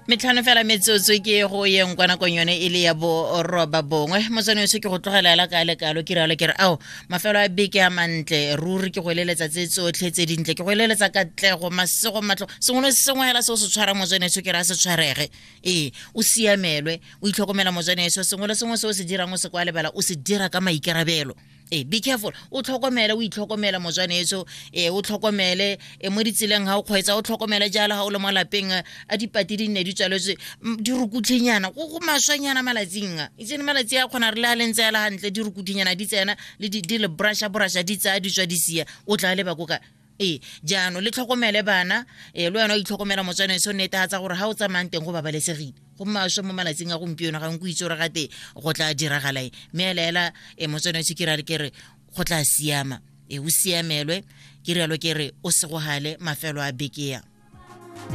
Metlhano fela metsotso ke go yeng kwa nakong yone e le ya boroba bongwe. Motswane ke go tlogela ela ka lekalo, ke rialo ke re ao mafelo a beke a mantle ruri. Ke go eleletsa tse tsotlhe tse dintle, ke go eleletsa katlego, masego, matlo, sengwe le sengwe hela se o se tshwarang, motswaneso, ke re a se tshwarege. Ee, o siamelwe, o itlhokomela, motswaneso. Sengwe le sengwe se o se dirang, o se kwa lebala o se dira ka maikarabelo. Ee, be careful, o tlhokomele, o itlhokomela, motswaneso. Ee, o tlhokomele e mo ditseleng ga o kgweetsa, o tlhokomele jalo ga o le mo lapeng. A dipati di nne di tswaletswe, di rukutlhenyana go maswanyana malatsing a itsene. Malatsi a kgona re le a lentse ya le gantle, di rukutlhenyana di tsena le di le brusha brusha, di tsaya di tswa di sia, o tla leba ko ka. Ee, jaanong le tlhokomele bana. Ee, le wena o itlhokomela, motswaneso. Netefatsa gore ga o tsamayang teng go babalesegile. Go maswe mo malatsing a gompieno, ga nko itse gore gate go tla diragala eng, mme ela e motswaneso, ke rale ke re go tla siama. E o siamelwe, ke rialo ke re o segogale mafelo a beke ya.